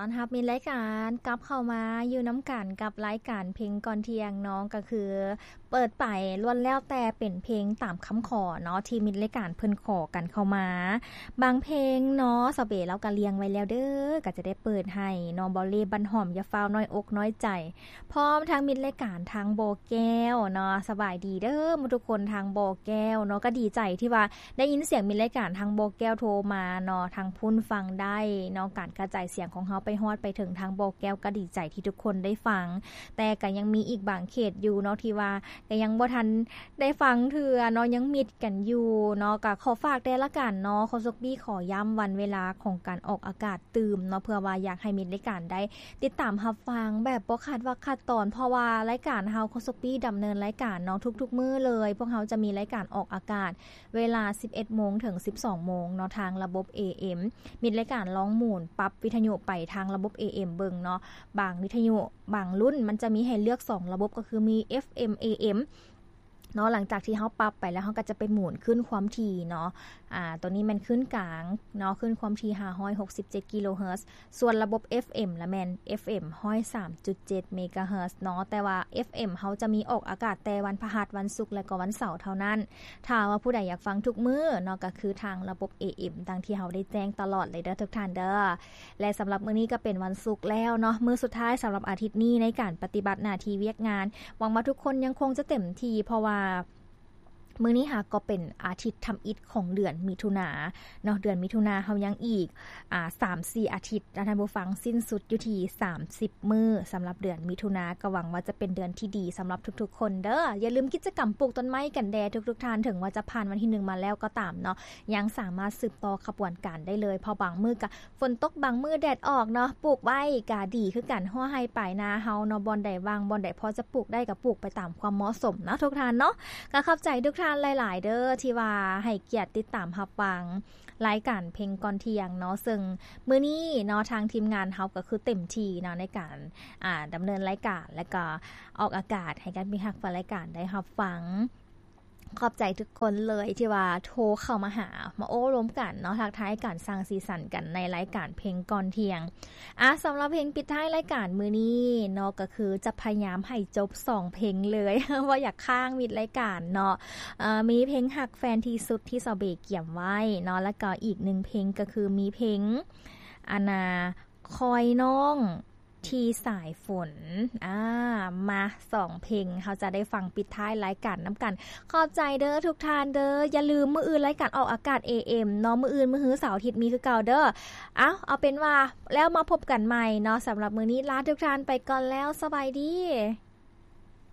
ຕ້ອນຮັບມິດລາຍການກັບເຂົ້າມາຢູ່ນຳກັນກັບລາຍການເພງກ່ອນທ່ຽງເນາະ ກໍຄືເປີດໄປລ້ວນແລ້ວແຕ່ເປັນເພງຕາມຄຳຂໍເນາະ ທີ່ມິດລາຍການເພິ່ນຂໍກັນເຂົ້າມາ. ບາງເພງເນາະ ສາວເບລາວກໍລຽງໄວ້ແລ້ວເດີ້ ກໍຈະໄດ້ເປີດໃຫ້ເນາະ ບໍ່ເລບັ້ນຫອມ ຢ່າຟ້າວນ້ອຍອົກນ້ອຍໃຈ ພ້ອມທັງມິດລາຍການທາງບໍ່ແກ້ວເນາະ ສະບາຍດີເດີ້ໝູ່ທຸກຄົນທາງບໍ່ແກ້ວເນາະ ກໍດີໃຈທີ່ວ່າ ໄດ້ຍິນສຽງມິດລາຍການທາງບໍ່ແກ້ວໂທມາເນາະ ທາງພຸ້ນຟັງໄດ້ເນາະ ການກະຈາຍສຽງຂອງເຮົາໄປຮອດໄປເຖິງທາງບໍ່ແກ້ວ ກໍດີໃຈທີ່ທຸກຄົນໄດ້ຟັງ ແຕ່ກໍຍັງມີອີກບາງເຂດຢູ່ເນາະ ທີ່ວ່າກໍຍັງບໍ່ທັນໄດ້ຟັງເທື່ອເນາະ ຍັງມິດກັນຢູ່ເນາະ. ກໍຂໍຝາກແດ່ລະກັນເນາະ ໂຄສົກບີ້ຂໍຢ້ຳວັນເວລາຂອງການອອກອາກາດຕື່ມເນາະ ເພື່ອວ່າຢາກໃຫ້ມິດລາຍການໄດ້ຕິດຕາມຮັບຟັງແບບບໍ່ຂາດວັກຂາດຕອນ ເພາະວ່າລາຍການເຮົາໂຄສົກປີ້ດຳເນີນລາຍການເນາະ ທຸກໆມື້ເລີຍ ພວກເຮົາຈະມີລາຍການອອກອາກາດ ເວລາສິບເອັດໂມງເຖິງສິບສອງໂມງເນາະ ທາງລະບົບ ເອເອັມ ມິດລາຍການລອງໝູນປັບວິທະຍຸໄປທາງລະບົບ ເອເອັມ ເບິ່ງເນາະ ບາງວິທະຍຸບາງລຸ້ນມັນຈະມີໃຫ້ເລືອກສອງລະບົບ ກໍຄືມີ ເອັບເອັມ ເອເອັມ ເນາະ. ຫຼັງຈາກທີ່ເຮົາປັບໄປແລ້ວ ເຮົາກໍຈະໄປໝູນຂຶ້ນຄວາມຖີ່ເນາະ ອາ ຕົວນີ້ແມ່ນຄື້ນກາງເນາະ ຄື້ນຄວາມຖີ່ຫ້າຮ້ອຍຫົກສິບເຈັດກິໂລເຮີດ ສ່ວນລະບົບ ເອັບເອັມ ລະແມ່ນ ເອັບເອັມ ຮ້ອຍສາມຈຸດເຈັດເມກາເຮີດເນາະ ແຕ່ວ່າ ເອັບເອັມ ເຮົາຈະມີອອກອາກາດແຕ່ວັນພະຫັດ ວັນສຸກ ແລະກໍວັນເສົາເທົ່ານັ້ນ. ຖ້າວ່າຜູ້ໃດຢາກຟັງທຸກມື້ເນາະ ກໍຄືທາງລະບົບ ເອເອັມ ດັ່ງທີ່ເຮົາໄດ້ແຈ້ງຕະຫຼອດເລີຍເດີ້ທຸກທ່ານເດີ້. ແລະສຳລັບມື້ນີ້ກໍເປັນວັນສຸກແລ້ວເນາະ ມື້ສຸດທ້າຍສຳລັບອາທິດນີ້ໃນການປະຕິບັດໜ້າທີ່ວຽກງານ. ຫວັງວ່າທຸກຄົນຍັງຄົງຈະເຕັມທີ່ ເພາະວ່າ ມື້ນີ້ຫາກໍເປັນອາທິດທຳອິດຂອງເດືອນມິຖຸນາເນາະ ເດືອນມິຖຸນາເຮົາຍັງອີກ ອາ ສາມສີ່ອາທິດນະທ່ານຜູ້ຟັງ ສິ້ນສຸດຢູ່ທີ່ສາມສິບມື້ສຳລັບເດືອນມິຖຸນາ ກໍຫວັງວ່າຈະເປັນເດືອນທີ່ດີສຳລັບທຸກໆຄົນເດີ້. ຢ່າລືມກິດຈະກຳປູກຕົ້ນໄມ້ກັນແດ່ທຸກໆທ່ານ ເຖິງວ່າຈະຜ່ານວັນທີໜຶ່ງມາແລ້ວກໍຕາມເນາະ ຍັງສາມາດສືບຕໍ່ຂະບວນການໄດ້ເລີຍ ເພາະບາງມື້ກໍ ຝົນຕົກບາງມື້ແດດອອກເນາະ ປູກໄວ້ກະດີຄືກັນ ຮົ້ວໄຮ່ປາຍນາເຮົາເນາະ ບ່ອນໃດວ່າງ ບ່ອນໃດພໍຈະປູກໄດ້ກະປູກໄປຕາມຄວາມເໝາະສົມເນາະທຸກທ່ານເນາະ. ກະຂອບໃຈທຸກທ່ານຫຼາຍໆເດີ້ ທີ່ວ່າໃຫ້ກຽດຕິດຕາມຮັບຟັງລາຍການເພງກ່ອນທ່ຽງເນາະ ເຊິ່ງມື້ນີ້ເນາະ ທາງທີມງານເຮົາກະຄືເຕັມທີ່ເນາະ ໃນການ ອາ ດຳເນີນລາຍການ ແລະກະອອກອາກາດໃຫ້ທ່ານຜູ້ຮັກຟັງລາຍການໄດ້ຮັບຟັງ. ຂອບໃຈທຸກຄົນເລີຍທີ່ວ່າໂທເຂົ້າມາຫາ ມາໂອ້ລົມກັນເນາະ ທັກທາຍກັນ ສ້າງສີສັນກັນໃນລາຍການເພງກ່ອນທ່ຽງ. ອາ ສຳລັບເພງປິດທ້າຍລາຍການມື້ນີ້ເນາະ ກໍຄືຈະພະຍາຍາມໃຫ້ຈົບສອງເພງເລີຍ ບໍ່ຢາກຄ້າງມິດລາຍການເນາະ. ເອີ ມີເພງຮັກແຟນທີ່ສຸດທີ່ສາວເບກຽມໄວ້ເນາະ ແລ້ວກໍອີກໜຶ່ງເພງກໍຄືມີເພງ ອັນນ່າ ຄອຍນ້ອງ ທີ່ສາຍຝົນ. ອາ ມາ ສອງເພງ ເຮົາຈະໄດ້ຟັງປິດທ້າຍລາຍການນຳກັນ. ຂອບໃຈເດີ້ທຸກທ່ານເດີ້ ຢ່າລືມມື້ອື່ນລາຍການອອກອາກາດ ເອເອັມ ເນາະ ມື້ອື່ນ ມື້ຮື ເສົາ ອາທິດ ມີຄືເກົ່າເດີ້. ເອົາ ເອົາເປັນວ່າແລ້ວມາພົບກັນໃໝ່ເນາະ ສຳລັບມື້ນີ້ລາທຸກທ່ານໄປກ່ອນແລ້ວ ສະບາຍດີ.